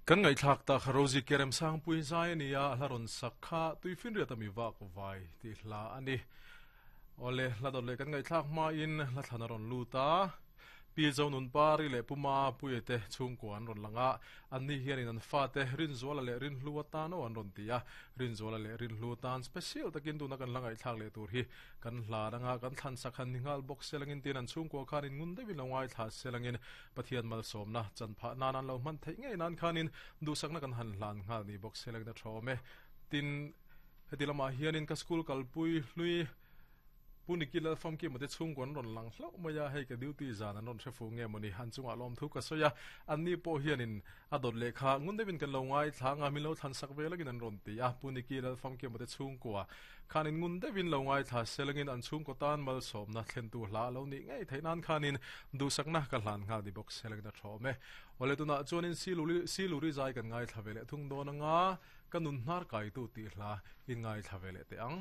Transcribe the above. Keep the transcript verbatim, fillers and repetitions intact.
Kan ngaihthlak tak Rosie Kerem Sangpui zai ania hla rawn sak kha tuifinriat ami vak vai tih hla ani. Ole hla dawt leh kan ngaihthlak hma in hla thlan a rawn lut a. Pi zo nun pari leh puma puiate chhungkua an rawn langa anni hianin an fate Rinzuala leh Rinhlu atan aw an rawn ti a. Rinzuala leh Rinhlu tan special takin tuna kan hla ngaihthlak leh tur hi kan hla anga kan thlan sak han ni nghal bawk selangin tin an chhungkua khanin ngun deuhin lo ngaithla selangin Pathian malsawmna chanphah nan an lo hman theih ngei nan khanin duhsakna kan han hlan nghal ni bawk selangin a thawm e. Tin heti lamah hianin ka school kalpui hlui Puniki lal famki mate chhungkua an rawn lang hlauh mai a, hei ka duty zan an rawn hre fuh nge mawni an chungah lawm thu ka sawi a, anni pawh hianin a dawt lehkha ngun deuhin kan lo ngaithla anga min lo thlan sak ve langin an rawn ti a, Puniki lal famki mate chhungkua khanin ngun deuhin lo ngaithla se langin an chhungkaw tan malsawmna thlentu hla a lo nih ngei theih nan khanin duhsakna ka hlan nghal ni bawk se langin a thawm e. Awle tunah chuanin Siluri zai kan ngaithla ve leh thung dawn anga ka nun hnar kaitu tih hla in ngaithla ve leh teh ang.